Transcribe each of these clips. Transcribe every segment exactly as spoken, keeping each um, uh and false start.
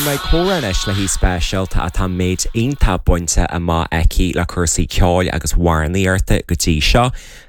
Beidh mé ag comhrá anois le haoi speisialta atá méid iontach bainte amach aici le cúrsaí ceoil agus amhránaíochta go dtí seo.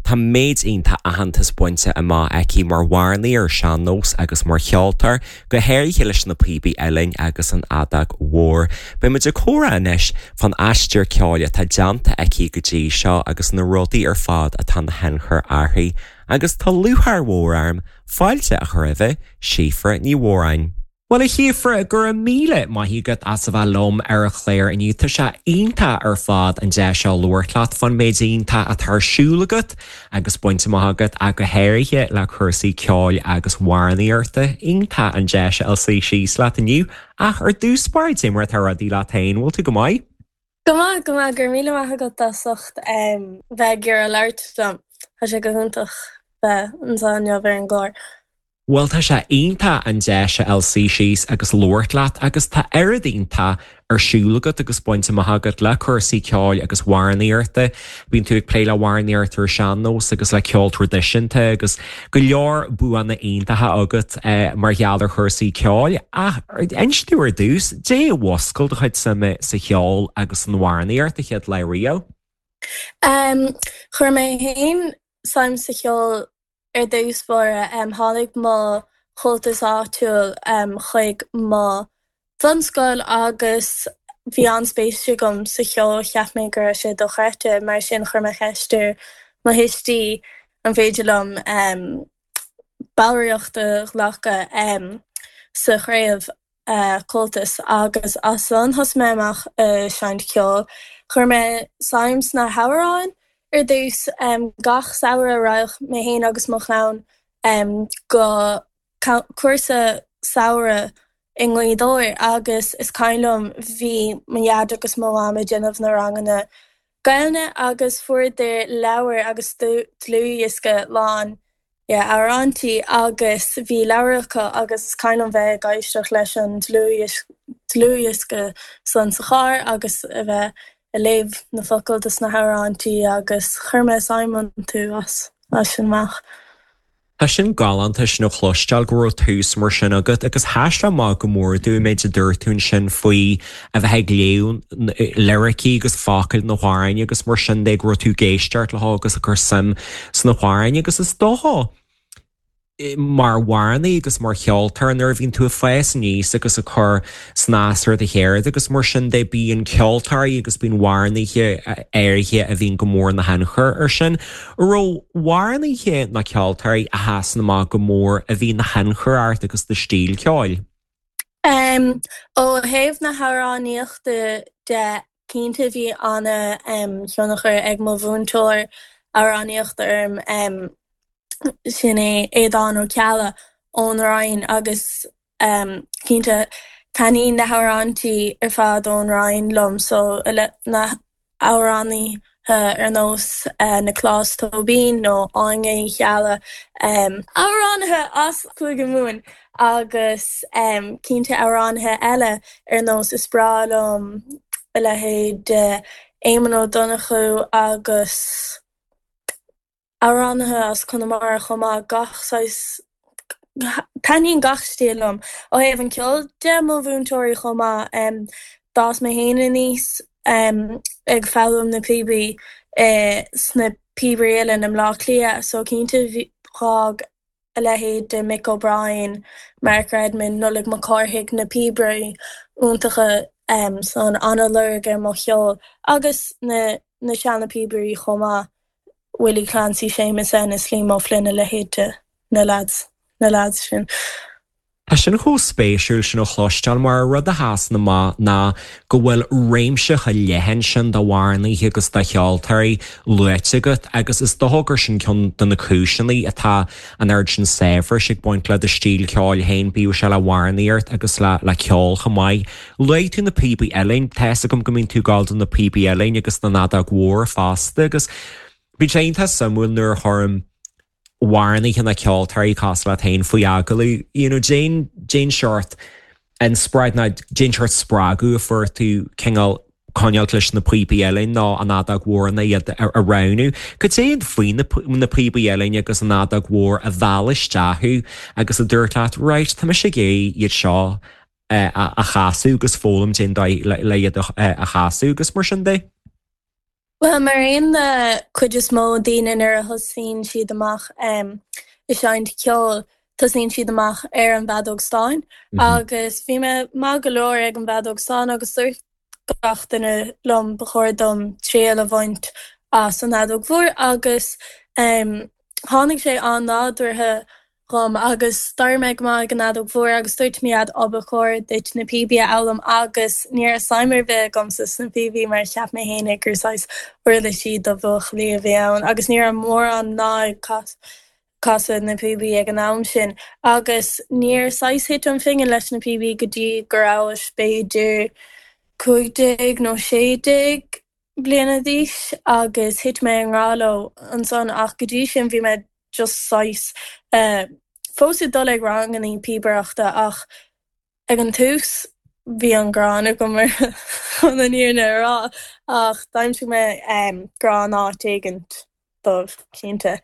Tá méid iontach aitheantas bainte amach aici mar amhránaí ar sean-nós agus mar cheoltóir, go háirithe leis na píobaí uilleann agus an fheadóg mhór. Beidh muid ag comhrá anois fán aistear ceoil atá déanta aici go dtí seo agus na rudaí ar fad atá ina thionchar uirthi, agus tá lúcháir mhór orm fáilte a chur roimh Síofra Ní Mhóráin. Well a Shíofra go raibh míle maith agat as a bheith liom ar an chlár inniu tá sé iontach ar fad an deis seo labhairt leat fán méid iontach atá ar siúl agat agus bainte amach agat a go háirithe le cúrsaí ceoil agus amhránaíochta iontach an deis a suí síos leat inniu ach ar dtús báire cad é mar atá rudaí leat féin bhfuil tú go maith? Go maith go maith gur míle maith agat as ucht bheith ag iarraidh labhairt liom Tá sé go hiontach bheith anseo inniu ar an gclár. Well tá sé iontach an deis a fháil suí síos agus labhairt leat agus tá oiread iontach ar siúl agat agus bainte amach agat le cúrsaí ceoil agus amhránaíochta. Bíonn tú ag plé le hamhránaíocht ar sean-nós agus le ceol traidisiúnta agus go leor buanna iontacha agat eh, mar gheall ar chúrsaí ceoil ach inis dom ar dtús cad é a mhúscail do chuid suime sa cheol agus san amhránaíocht an chéad lá riamh. Um, chuir mé féin suim sa cheol ar dtús báire um, tháinig mo chomhaltas áitiúil um, chuig mo bhunscoil agus bhí an-spéis agam sa cheol cheap mé go raibh sé dochreidte mar sin chuir mé ceist ar mo thuistí an féidir liom um, ballraíocht a ghlacadh um, sa chraobh uh, Comhaltas agus as san thosaigh mé amach uh, seinnt ceoil. Chuir mé suim sna hamhráin ar dtús um, gach samhradh raghadh mé féin agus mo chlann um, go cúrsa samhraidh i nGaoth Dobhair agus is cuimhin liom bhí mo dhaid agus mo mham ag déanamh na ranganna Gaeilge agus fuaireadar leabhar agus dlúthdhiosca lán amhráintí agus bhí leabhar acu agus is cuimhin liom bheith ag éisteacht leis an dlúthdhiosca san sa charr agus a bheith ag léamh na focail dos na hamhráintí agus chuir mé suim iontu as as sin amach. Tá sin galánta sin a chloisteáil go raibh tús mar sin agat agus sheas amach go mór dom méid a dúirt tú sin faoi a bheith ag léamh liricí agus focail na n-amhrán agus mar sin de go raibh tú ag éisteacht leo agus ag cur suim sna hamhráin agus is dócha mar amhránaí agus mar cheoltóir nuair a bhíonn tú ag fás aníos agus ag cur snas ar do cheird agus mar sin de bíonn ceoltóirí agus bíonn amhránaithe áirithe a bhíonn go mór ina thionchar ar sin. Raibh amhránaithe nó ceoltóirí a sheasann amach go mór a bhí ina thionchar ort agus do stíl ceoil. Um, ó thaobh na hamhránaíochta de cinnte bhí ana um, thionchar ag mo mhúinteoir amhránaíochta orm um, sin é Aodán Ó Ceallaigh ón Rinn agus um, cinnte taitníonn na hamhráintí ar fad ón Rinn liom so na hamhránaithe ar nós uh, Nioclás Tóibín nó Áine Uí Cheallaigh um, amhránaithe as Cúige Mumhan agus um, cinnte amhránaithe eile ar nós is breá liom a leithéid de Éamonn Ó Donnchú agus amhránaithe as Conamara chomh maith gach saghas taitníonn gach stíl liom ó thaobh an ceol de mo mhúinteoirí chomh maith um, d'fhás mé féin aníos um, ag foghlaim na píobaí uh, sna píobairí eile i mBleá Cliath so cinnte d'fhág a leithéid de Mick O'Brien, Mark Redmond, Nollaig Mac Cárthaigh na píobairí iontacha um, san an-lorg ar mo cheol agus na na seana píobairí chomh maith. Willie Clancy Seamus Ennis Liam O'Flynn a leithéid na lads na lads sin. Tá sin chomh spéisiúil sin a chloisteáil mar rud a sheasann amach ná go bhfuil réimse chomh leathan sin d'amhránaithe agus de cheoltóirí luaite agat agus is dócha gur sin ceann de na cúiseanna atá an oiread sin saibhris ag baint le do stíl ceoil féin bíodh sé le hamhránaíocht agus le le ceol chomh maith. Luaigh tú na píobaí uilleann tá a fhios agam go mbíonn tú ag gabháil do na píobaí uilleann agus na fheadóg mhór fosta agus bíonn sé iontach suimiúil nuair a chuirim amhránaithe nó ceoltóirí cosúil leat féin faoi agallamh you know, cén cén seort inspioráid nó cén seort spreagadh a fuair tú cineál coinneáil leis na píobaí uilleann nó an fheadóg mhór na iad a roghnú. Cad é faoi na na píobaí uilleann agus an fheadóg mhór a mheall isteach thú agus a dúirt leat right tá mise ag iarraidh iad seo a chasadh agus foghlaim cén dóigh le iad a chasadh agus mar sin de? Well mar aon le cuid is mó daoine nuair a thosaíonn siad amach ag seinnt ceoil, tosaíonn siad amach ar an bhfeadóg stáin agus bhí mé maith go leor ag an bhfeadóg stáin agus dúirt gach duine liom ba chóir dom triail a bhaint as an fheadóg mhór agus tháinig sé an-nádúrtha dhom agus d'éirigh mé go maith ag an fheadóg mhór agus dúirt mo dhaid ó ba chóir duit na píobaí a fhoghlaim agus ní raibh suim ar bith agamsa sna píobaí mar cheap mé féin gur saghas uirlisí do bhuachaillí a bhí ann agus ní raibh mórán mná ag casadh na píobaí ag an am sin agus níor saghas thit an phingin leis na píobaí go dtí go rabhas b'fhéidir cúig déag nó sé déag bliana d'aois agus thit mé i ngrá leo ansan ach go dtí sin bhí mé just saghas fós ag dul ag ranganna píobaireachta ach ag an tús bhí an ghráin agam chun an fhírinne a rá ach d'aimsigh mé grá in áit éigint dóibh cinnte.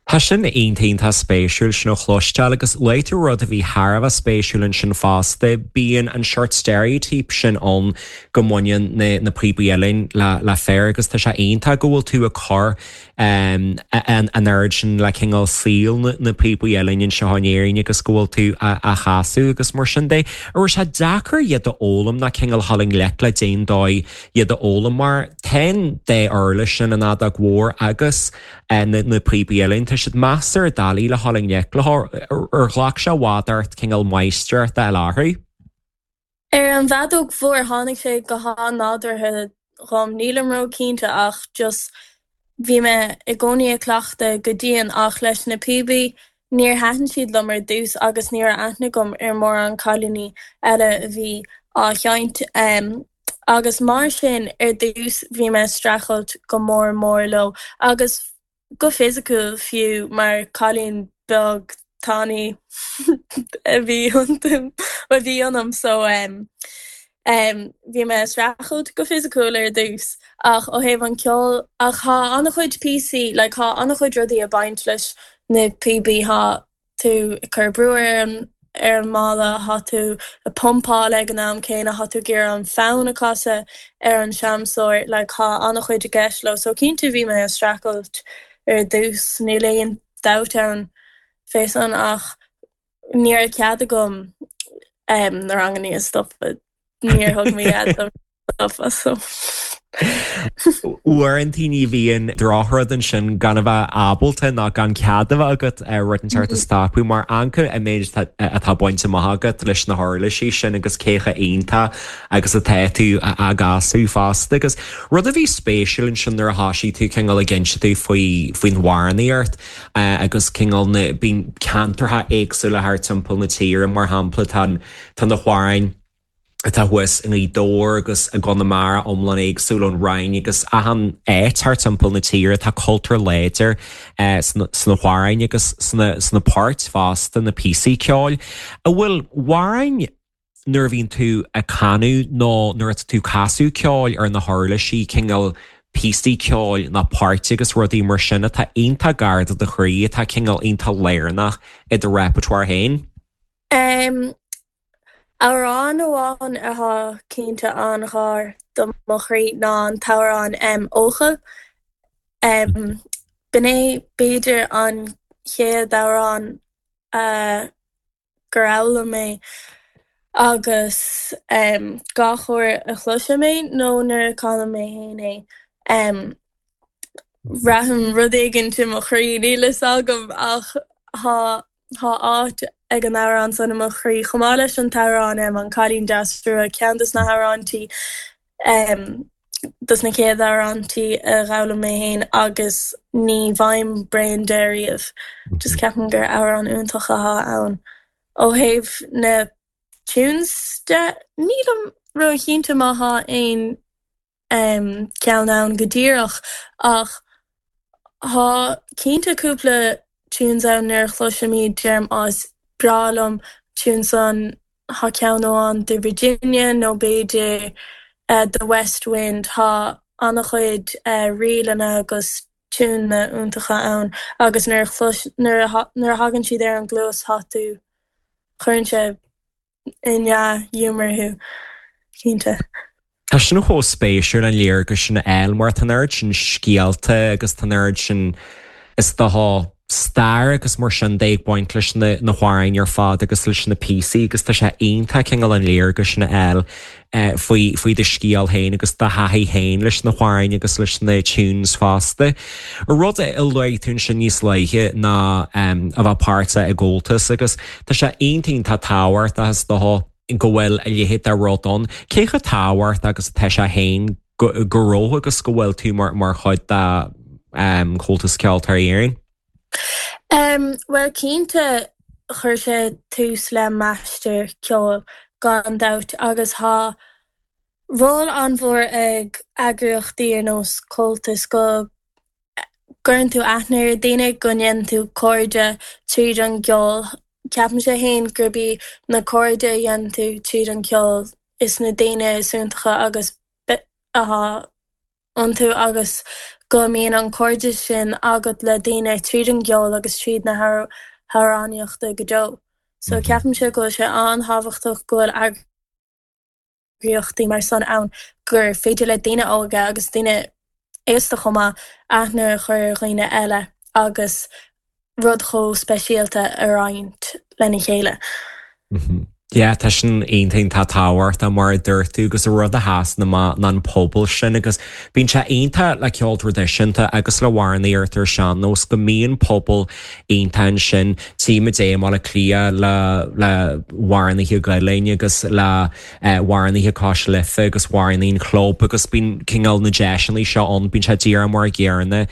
Tá sin iontach iontach spéisiúil sin a chloisteáil agus luaigh tú rud a bhí thar a bheith spéisiúil ansin fosta, bíonn an seort steiréitíopa sin ann go mbaineann na na píobaí uilleann le le fir agus tá sé iontach go bhfuil tú ag cur an an oiread sin le cineál saol na na píobaí uilleann anseo in Éirinn agus go bhfuil tú á chasadh agus mar sin de. An raibh sé deacair iad a fhoghlaim nó cineál dul i ngleic le cén dóigh iad a fhoghlaim mar tá an dá uirlis sin an fheadóg mhór agus na na píobaí uilleann tá siad measartha doiligh le dul i ngleic leo ar ghlac sé i bhfad ort cineál máistreacht a fháil orthu. Ar an bhfeadóg mhór tháinig sé go han-nádúrtha dhom, nílim ró-chinnte ach just bhí mé i gcónaí ag cleachtadh go dian ach leis na píobaí níor thaitin siad liom ar dtús agus ní raibh aithne agam ar mórán cailíní eile a bhí á sheinnt agus mar sin ar dtús bhí mé ag streachailt go mór mór leo agus go fisiciúil fiú mar cailín beag tanaí a bhí iontu a bhí ionam so um, um, bhí mé ag streachailt go fisiciúil ar dtús ach ó thaobh an ceol ach tá an-chuid píosaí like tá an-chuid rudaí ag baint leis na píobaí tá tú ag cur brú ar an ar an mála tá tú ag pumpáil ag an am céanna tá tú ag iarraidh an fonn a chasadh ar an seamsóir like tá an-chuid i gceist leo so cinnte bhí mé ag streachailt ar dtús níl aon dabht ann fé san ach ní raibh cead agam um, na ranganna a stopadh níor thug mé cead stopadh so. Uaireanta ní bhíonn drochrud ansin gan a bheith ábalta ná gan cead a bheith agat ar rud inteacht a stopadh mar anca an méid atá bainte amach agat leis na huirlisí sin agus cé chomh iontach agus atá tú á gcasadh fosta agus rud a bhí spéisiúil ansin nuair a thosaigh tú cineál ag inse tú faoi faoin amhránaíocht agus cineál na bíonn ceantartha éagsúla thar timpeall na tíre mar shampla tá tá na hamhráin atá thuas i nGaoth Dobhair agus i gConamara iomlán éagsúil ón Rinn agus achan áit thar timpeall na tíre tá cultúr láidir sna sna hamhráin agus sna sna poirt fosta na píosaí ceoil. An bhfuil amhráin nuair a bhíonn tú ag canadh nó nuair atá tú ag casadh ceoil ar na huirlisí cineál píosaí ceoil ná poirt agus rudaí mar sin atá iontach gar do do chroí atá cineál iontach lárnach i do repertoire féin? Um, Amhrán amháin atá cinnte an-ghar do mo chroí ná an t-amhrán um, Eochaill. Um, B'in é b'fhéidir an chéad amhrán uh, gur fhoghlaim mé agus um, gach uair a chloisim é nó nuair a chanaim mé féin é. Um, Braithim rud éigin i mo chroí níl a fhios agam ach tá tá áit ag an amhrán san i mo chroí chomh maith leis an t-amhrán um, an Cailín Deas Rua ceann des na hamhráintí um, dos na chéad amhráintí a d'fhoghlaim mé féin agus ní bhfaighim bréan de riamh. Just ceapaim gur amhrán iontach atá ann. Ó thaobh na tunes de nílim ró-chinnte má tá aon um, ceann ann go díreach ach tá cinnte cúpla tunes ann nuair a chloisim iad deirim is breá liom tune san tá ceann amháin de Virginia nó b'fhéidir uh, The West Wind tá an-chuid uh, ríleanna agus tiúineanna iontacha ann agus nuair a chlois- nuair a tha- nuair a thagann siad ar an gcluas tá tú chuireann sé i ndea-ghiúmar thú cinnte. Tá sin chomh spéisiúil an léargas sin a fháil mar tá an oiread sin scéalta agus tá an oiread sin is dócha stair agus mar sin de ag baint leis na na hamhráin ar fad agus leis na píosaí agus tá sé iontach cineál an léargas sin a fháil eh, faoi faoi do scéal féin agus do thaithí féin leis na hamhráin agus leis na tunes fosta. Rud a luaigh tú sin níos luaithe ná um, a bheith páirteach i gComhaltas agus tá sé iontach tábhachtach is dócha go bhfuil a leithéid de rud ann. Cé chomh tábhachtach agus atá sé féin go go raibh agus go bhfuil tú mar mar chuid de um, Comhaltas Ceoltóirí Éireann? Um, well cinnte chuir sé tús le m'aistear ceoil gan dabht agus tá ról an-mhór ag eagraíochtaí ar nós Comhaltas go gcuireann tú aithne ar daoine go ndéanann tú cairde tríd an gceol. Ceapaim sé féin gurb í na cairde a dhéanann tú tríd an gceol is na daoine is iontacha agus atá iontu agus go mbíonn an cairdeas sin agat le daoine tríd an gceol agus tríd na hamhránaíochta go deo. So ceapaim sé go bhfuil sé an-tábhachtach go bhfuil eagraíochtaí mar sin ann gur féidir le daoine óga agus daoine aosta chomh maith aithne a chur ar dhaoine eile agus rud chomh speisialta a roinnt lena chéile. Yeah, tá sin iontach tábhachtach mar a dúirt tú agus a rud a sheasann amach ná an pobal sin agus bíonn sé iontach le ceol traidisiúnta agus le hamhránaíocht ar sean-nós go mbíonn pobal iontach ansin Tíime é mar le clia le le hamhránaithe Gaelainne agus le hamhránaithe Cois Life agus amhránaithe an chlub agus bíonn cineál na deiseanna seo ann bíonn sé díreach mar an gcéanna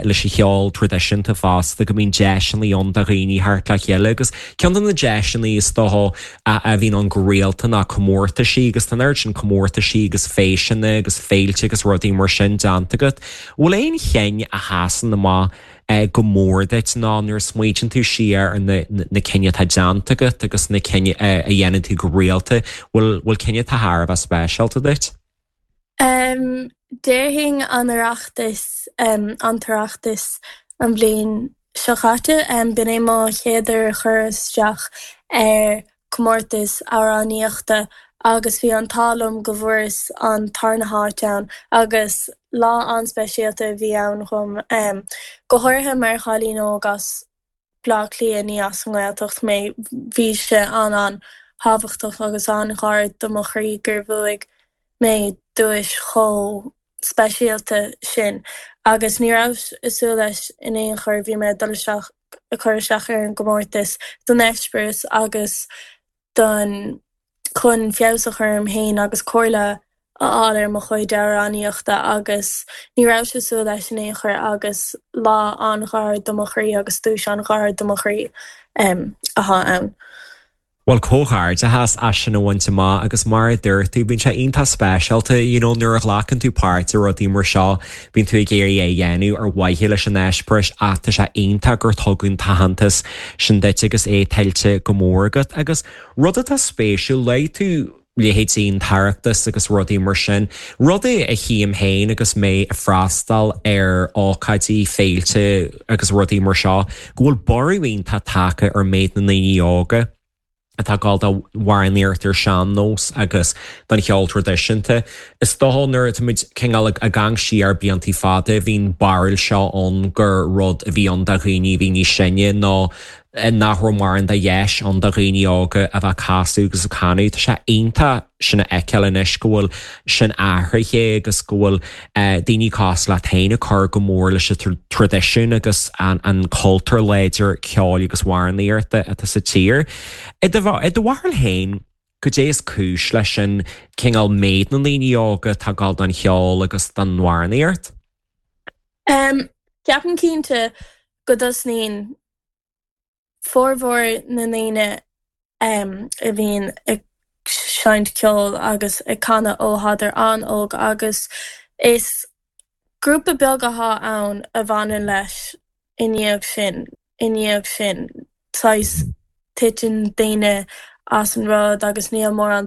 leis an cheol traidisiúnta fosta go mbíonn deiseanna ann do dhaoine thart le chéile agus ceann de na deiseanna is dócha a bhíonn ann go rialta ná comórtaisí agus tá an sin comórtaisí agus feiseanna agus féilte agus rudaí mar sin déanta agat. Bhfuil aon cheann a sheasann amach go mór duit ná nuair a smaoiníonn tú siar ar na, na cinn atá déanta agat agus na cinn a dhéanann tú go rialta, bhfuil bhfuil cinn atá thar a bheith speisialta duit? Um, Déarfainn an Oireachtas um, an tOireachtas an bhliain seo caite um, b'in é mo chéad uair chur isteach ar comórtas amhránaíochta agus bhí an t-ádh liom go bhfuaireas an tarna háit ann agus lá an-speisialta a bhí ann dom um, go háirithe mar chailín óg as Baile Átha Cliath ní as an nGaeltacht mé bhí sé an an-tábhachtach agus an-ghar do mo chroí gur bhuaigh mé duais chomh speisialta sin agus ní raibh ag súil leis in aon chor bhí mé dul isteach a chur isteach ar an gcomórtas don eispéireas agus don chun feabhas a chur orm féin agus comhairle a fháil ar mo chuid amhránaíochta agus ní raibh ag súil leis in aon chor agus lá an-ghar do mo chroí agus duais an-ghar do mo chroí um, atá ann. Well comhghairdeas as sin a bhaint amach agus mar a dúirt tú bíonn sé iontach speisialta you know, nuair a ghlacann tú páirt i rudaí mar seo bíonn tú ag iarraidh é a dhéanamh ar mhaithe leis an eispéireas ach tá sé iontach gur tugadh an t-aitheantas sin duit agus é tuillte go mór agat agus rud atá spéisiúil luaigh tú leithéidí an tOireachtas agus rudaí mar sin. Rudaí a chím féin agus mé ag freastal ar ócáidí féilte agus rudaí mar seo, go bhfuil borradh iontach tagtha ar méid na ndaoine óga. atá ag gabháil d'amhránaíocht ar sean-nós agus don cheol traidisiúnta. Is dócha nuair táimid cineál ag amharc siar blianta fada bhí an barúil seo ann gur rud a bhí ann do dhaoine bhí níos sine ná nach raibh mórán de dheis ann do dhaoine óga a bheith ag casadh agus ag canadh. Tá sé iontach sin a fheiceáil anois go bhfuil sin athraithe agus go bhfuil daoine cosúil leat féin ag cur go mór leis an traidisiún agus an, an cultúr láidir ceoil agus amhránaíochta atá sa tír. I do bharúil féin cad é is cúis leis sin cineál méid na ndaoine óga atá ag gabháil don cheol agus don amhránaíocht? Um, Ceapaim cinnte go dtosnaíonn formhór na ndaoine um, a bhíonn ag seinnt ceoil agus ag canadh ó thádar an-óg agus is grúpa beag atá ann a bhaineann leis i ndiaidh sin i ndiaidh sin saghas titeann daoine as an rud agus níl mórán